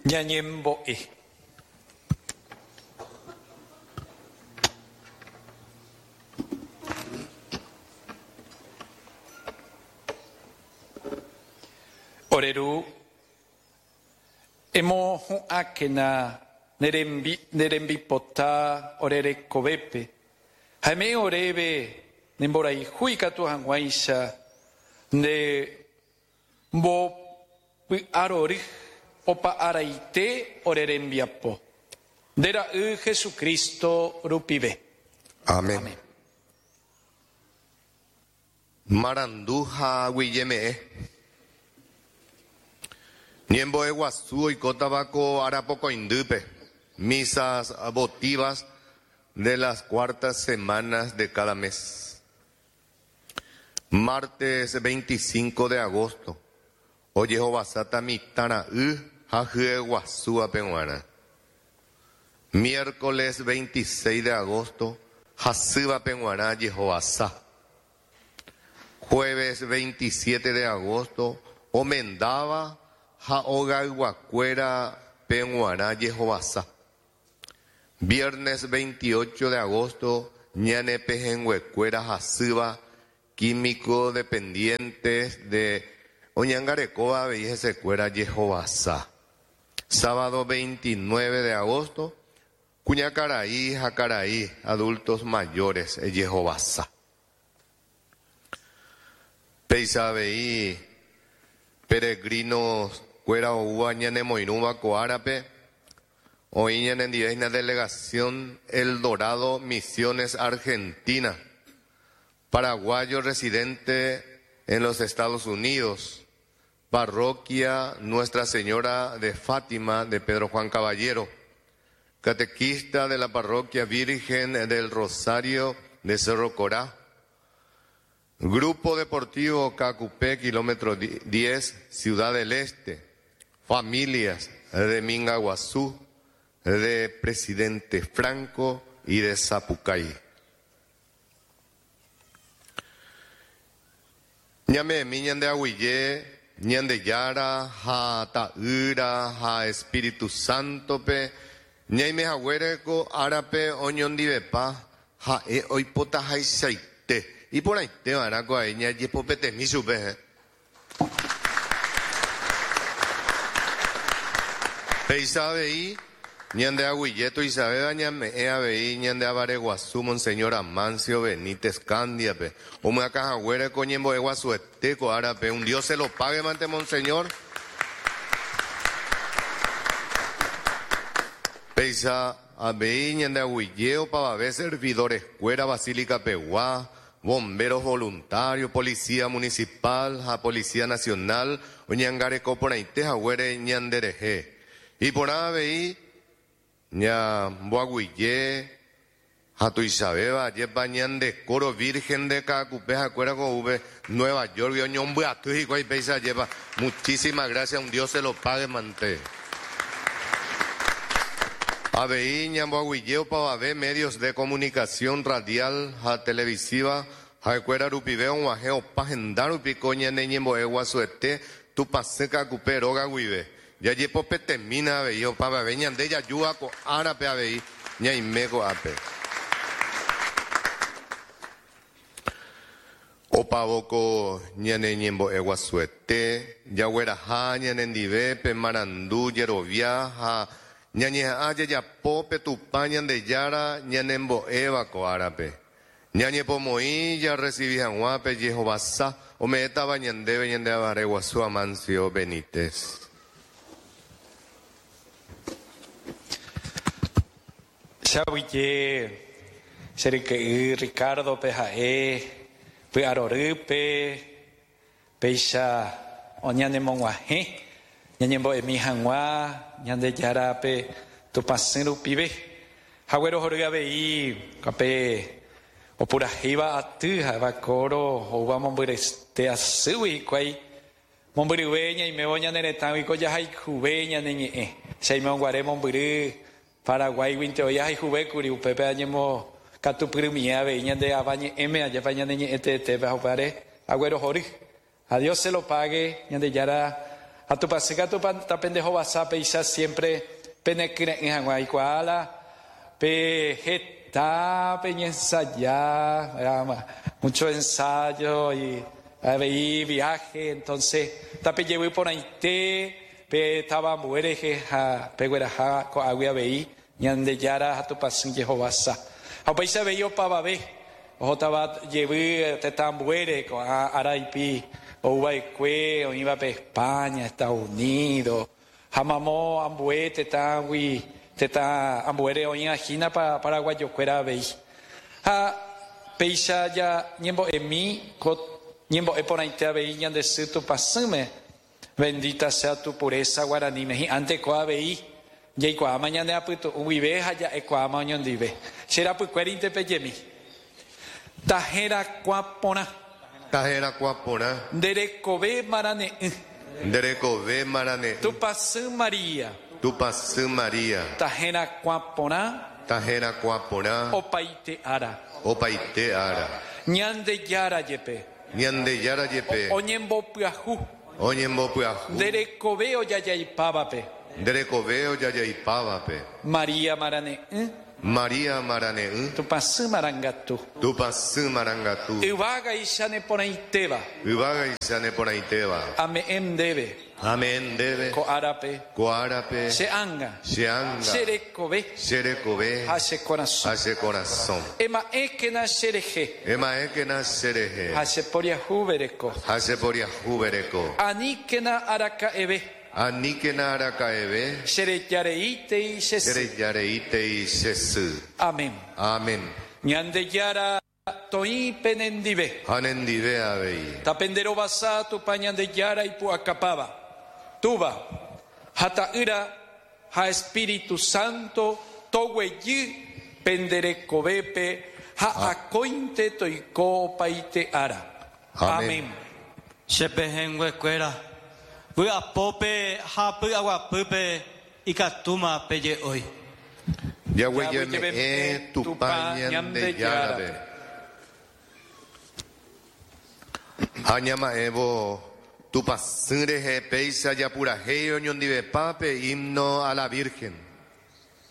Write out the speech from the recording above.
Ñañembo'e. Ore Ru, emohu'ãkena ne rembi, ne rembipota ore rekovépe, ha eme'ẽ oréve ne mborayhu ikatu hag̃uáicha nde Mbopy'arory opa araite ore rembiapo, nde Ra'y Jesucristo rupive. Amén. Marandu ha aguyjeme'ẽ. Ñembo'e guasu oikótava ko arapokõindýpe, misas votivas de las cuartas semanas de cada mes. Martes 25 de agosto, ojehovasáta mitã ra'y ha hyeguasúvape g̃uarã. Miércoles 26 de agosto, hasývape g̃uarã jehovasa. Jueves 27 de agosto, omendáva ha ogayguakuérape g̃uarã jehovasa. Viernes 28 de agosto, ñane pehẽnguekuéra hasýva químico dependientes de oñangarekóva avei hesekuéra jehovasa. Sábado 29 de agosto, kuñakarai ha karai adultos mayores jehovasa. Péicha avei peregrinos kuéra oúva ñanemoirũva ko árape, oĩ ñanendive hína delegación El Dorado, Misiones, Argentina, paraguayo residente en los Estados Unidos, parroquia Nuestra Señora de Fátima de Pedro Juan Caballero, catequista de la parroquia Virgen del Rosario de Cerro Corá, Grupo Deportivo Caacupé, kilómetro 10, Ciudad del Este, familias de Mingaguazú, de Presidente Franco y de Sapucay. Ñame'ẽmi ñande aguyje Ñandejára ha Ta'ýra ha Espíritu Santo-pe, ñaime haguére ko árape oñondivepa Ha'e oipotahaichaite. Iporãite va'erã ko ae ñajepopetemi chupe. Péicha avei, ñande aguyje tuichavéva ñame'ẽ avei ñande avare guasu Monseñor Amancio Benítez Candia-pe, omyakã haguére ko ñembo'e guasuete ko árape, un Dios se lo pague mante Monseñor. Péicha avei ñande aguyje opavave servidores-kuéra Basílica-pegua, Bomberos voluntarios, Policía Municipal ha Policía Nacional oñangareko porãite haguére ñande rehe. Iporã avei ñamboaguyje ha tuichavéva ajépa ñande coro Virgen de Caacupé ha'ekuéra ko oúpe Nueva York-gui oñombyaty hikuái péicha ajépa. Muchísimas gracias, un Dios se lo pague mante. Avei ñamboaguyje opavave medios de comunicación radial ha televisiva ha'ekuéra rupive og̃uahẽ opa henda rupi ko ñane ñembo'e guasuete Tupãsy Ka'akupe róga guive. Jajepopetemína avei opavave ñande jajúva ko árape avei ñaime ko'ápe. Opávo ko ñane ñembo'e guasuete, jagueraha ñanendive pe marandu jerovia ha ñañeha'ã jajapo pe Tupã Ñandejára ñanembo'éva ko árape. Ñañepomoĩ jarresivi hag̃ua pe jehovasa ome'ẽtava ñandéve ñande Avare Guasu Amancio Benítez. Che aguyje che ryke'y Ricardo-pe ha'e py'arorýpe péicha oñanemog̃uahẽ ñañembo'emi hag̃ua Ñandejárape Tupãsy rupive. Ha guerohory avei pe opurahéiva aty ha'éva kóro oúva mombyrete asýgui hikuái Mombyryve ñaimévo ñane retãgui ko jahayhuve ñane ñe'ẽ. Che aime mombyry Paraguáiguinte oĩ ahayhuvékuri, upépe añemokatupyrymie avei ñande ava ñe'ẽme, ajépa ñane ñe'ẽ teetépe ha upévare aguerohory. Ha Dios se lo pague, Ñandejára. Ha Tupãsy katu tapendehovasa péicha siempre penekyre'ỹ hag̃ua aikuaa la pe heta peñensaja, mucho ensayo y avei viaje, entonces tapejevy porãite pe táva ambue rehe ha pegueraha ko'águi avei Ñandejára ha Tupãsy jehovasa. Ha upéicha avei opavave ohótava jevy tetã ambuére ko'ã ára ipi ou va'ekue oĩva pe España, Estados Unidos ha mamo ambue tetãgui tetã ambuére oĩva hína paraguayo kuéra avei. Ha péicha ja ñembo'emi ko ñembo'e porãite avei ñande sy Tupãsýme Bendita sea tu pureza guaraníme hi'ãnte ko avei jaikuaáma ñane apytu'ũ guive ha ja'ekuaáma oñondive. Che rapykuérinte pejemi. Taherakuã porã. Taherakuã porã. Nde rekove marane'ỹ. Nde rekove marane'ỹ. Tupãsy María. Tupãsy María. Taherakuã porã. Taherakuã porã. Opaite ára. Opaite ára. Ñandejára jepe. Ñandejára jepe. Oñembopyahu. Oñembopyahu. Nde rekove ojajaipávape. Nde rekove ojajaipávape. María marane'ỹ. María marane'ỹ. Tupãsy marangatu. Tupãsy marangatu. Yvágaicha neporãitéva. Yvágaicha neporãitéva. Ame'ẽ ndéve. Ame'ẽ ndéve. Ko árape. Ko árape. Che ánga. Che ánga. Che rekove. Che rekove. Ha che korasõ. Ha che korasõ. Ema'ẽkena che rehe. Ema'ẽkena che rehe. Ha che poriahuvereko. Ha che poriahuvereko. Aníkena araka'eve. Aníkena araka'eve. Che rejareítei che sy. Che rejareítei che sy. Amén. Amén. Ñandejára toĩ penendive. Ha nendive avei. Tapenderovasa Tupã Ñandejára ipu'akapáva, Túva, ha Ta'ýra, ha Espíritu Santo toguejy pende rekovépe ha akóinte toiko opaite ára. Amén. Che pehẽnguekuéra, vy'apópe ha py'aguapýpe ikatúma peje'ói. Jaguejeme'ẽ Tupã Ñandejárape. Ha ñama'ẽvo Tupãsy rehe péicha japurahéi oñondivepa pe himno a la Virgen.